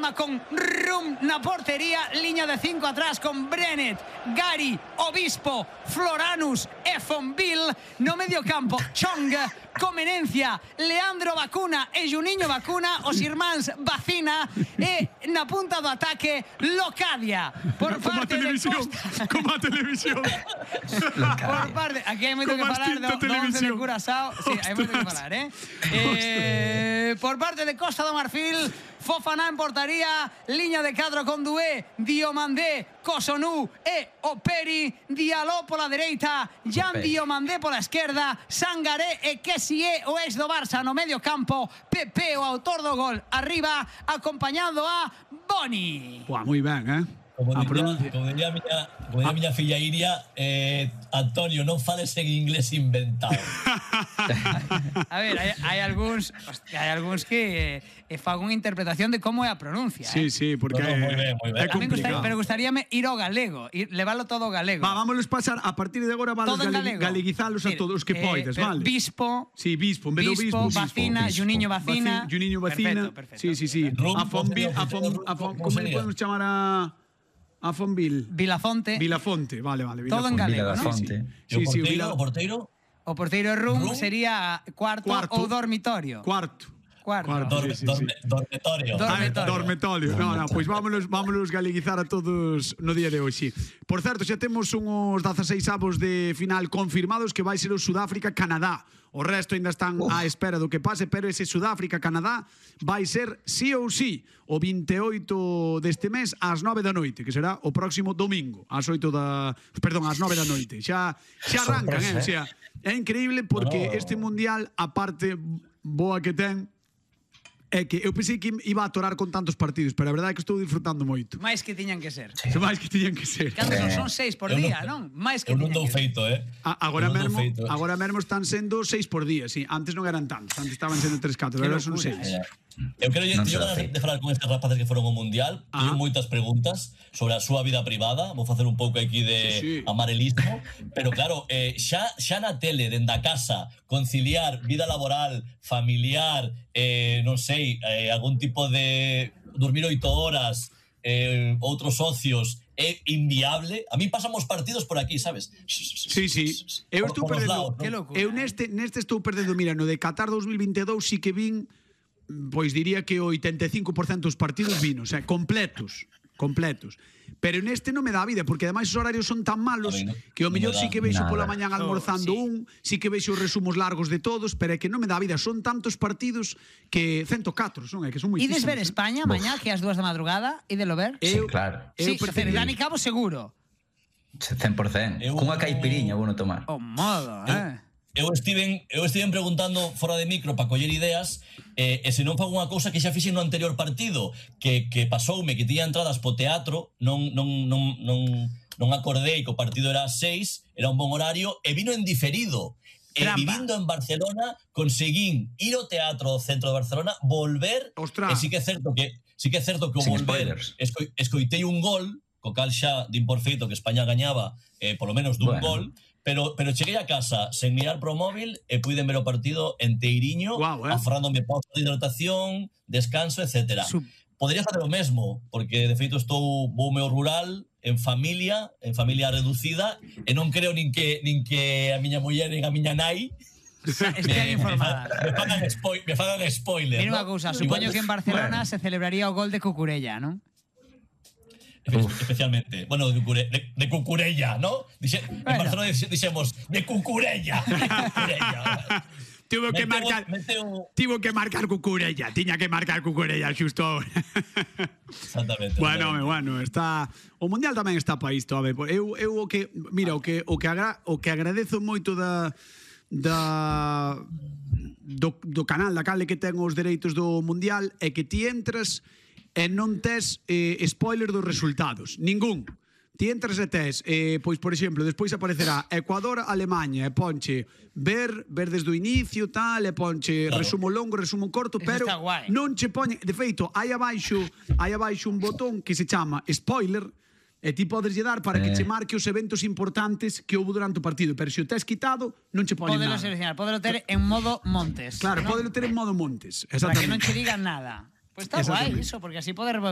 forma con Rum na portería, liña de 5 atrás con Brenet, Gary, Obispo, Floranus e Fonville. No medio campo, Chong, Comenencia, Leandro Bacuna e Juninho Bacuna, os irmáns Bacina, e na punta do ataque Locadia. Por parte de Costa. Como a televisión. Por parte, aquí hai moito que falar do 11 de Curazao. Sí, hai moito que falar, por parte de Costa do Marfil, Fofana en portaría, liña de cadro con Doué, Diomandé, Cotonou e Operi, Diallo pola dereita, Jan Diomandé pola esquerda, Sangaré e Kessie, o ex do Barça no medio campo, Pepe, o autor do gol, arriba, acompañando a Boni. Buah, moi ben, Como diría a miña filla Iria, Antonio, non fales en inglés inventado. A ver, hai algúns que fan unha interpretación de como é a pronuncia. Sí, porque moi ben. é complicado. Pero gustaríame ir ao galego, leválo todo ao galego. Vámonos pasar, a partir de agora vamos galeguizalos a todos os que poides, vale? Bispo. Sí, Bispo, en vez do Bispo. Bacina, Juninho Bacina. Juninho Bacina. Perfecto. Sí. A Fonville, como le podemos chamar a Fonville? Vilafonte, vale. todo en galego, ¿no? Sí, O porteiro? O porteiro Rum sería cuarto ou dormitorio. Cuarto. Dormitorio. No, pois vámonos galeguizar a todos no día de hoxe. Por certo, xa temos uns 16 avos de final confirmados, que vai ser o Sudáfrica-Canadá. O resto ainda están á espera do que pase, pero ese Sudáfrica-Canadá vai ser sí ou sí o 28 deste mes ás 9 da noite, que será o próximo domingo ás 9 da noite. Xa arrancan, o sea, é increíble porque este mundial, a parte boa que ten, é que eu pensei que iba a atorar con tantos partidos, pero a verdade é que estou disfrutando moito. Máis que tiñan que ser. Máis que tiñan que ser. Cantos son 6 por día, non? Máis que tiñan que ser. Agora mesmo están sendo 6 por día, sí. Antes non eran tantos, antes estaban sendo 3-4, agora son 6. Eu quero de falar con estes rapaces que foron ao Mundial. Teño moitas preguntas sobre a súa vida privada. Vou facer un pouco aquí de amarelismo. Pero claro, xa na tele, dende a casa, conciliar vida laboral, familiar, non sei, algún tipo de dormir 8 horas, outros socios, é inviable. A mí pasamos partidos por aquí, sabes? Sí. Eu estou perdendo. Eu neste estou perdendo, mira, no de Qatar 2022 sí que vin, pois diría que o 85% dos partidos vino, o sea, completos. Pero neste non me dá vida, porque ademais os horarios son tan malos que o mellor sí que veixo pola mañán almorzando sí que veixo os resumos largos de todos, pero é que non me dá vida, son tantos partidos que 104, son, é que son moitísimos. Ides ver España mañá, que ás 2 da madrugada, idelo ver? Sí, claro. Sí, Dani Cabo seguro. 100%. Cunha caipiriña vou non tomar. O modo, Eu estiven preguntando fora de micro para coller ideas, e se non fago unha cousa que xa fixen no anterior partido, que pasoume que tiña entradas po teatro, non acordei que o partido era ás 6, era un bon horario, e vino en diferido. E vivindo en Barcelona conseguín ir ao teatro do centro de Barcelona, volver, e sí que é certo que o volver escoitei un gol, co cal xa din por feito que España gañaba polo menos dun gol. Pero cheguei a casa sen mirar pro móvil e puiden ver o partido enteiriño, aforrándome pausa de hidratación, descanso, etc. Podría facer o mesmo, porque de feito voume ao rural, en familia reducida, e non creo nin que a miña muller nin a miña nai estean informadas. Me fagan spoiler. Mira unha cousa, supoño que en Barcelona se celebraría o gol de Cucurella, non? Especialmente, bueno, de Cucurella, ¿no? En Barcelona dixemos de Cucurella. Tivo que marcar Cucurella, tiña que marcar Cucurella xusto ahora. Exactamente. Bueno, está o mundial tamén está para isto, a ver, eu o que agradezo moito do canal da Cale que ten os dereitos do mundial é que ti entras e non tes spoiler dos resultados, ningún. Ti entras e tes, pois, por exemplo, despois aparecerá Ecuador-Alemanha, e ponche ver desde o inicio, tal, e ponche resumo longo, resumo corto, pero non che poñe, de feito, hai abaixo un botón que se chama spoiler, e ti podes lle dar para que che marque os eventos importantes que houve durante o partido, pero se o tes quitado, non che poñe nada. Podelo ter en modo Montes. Claro, podelo ter en modo Montes, para que non che digan nada. Pues está guai iso, porque así podes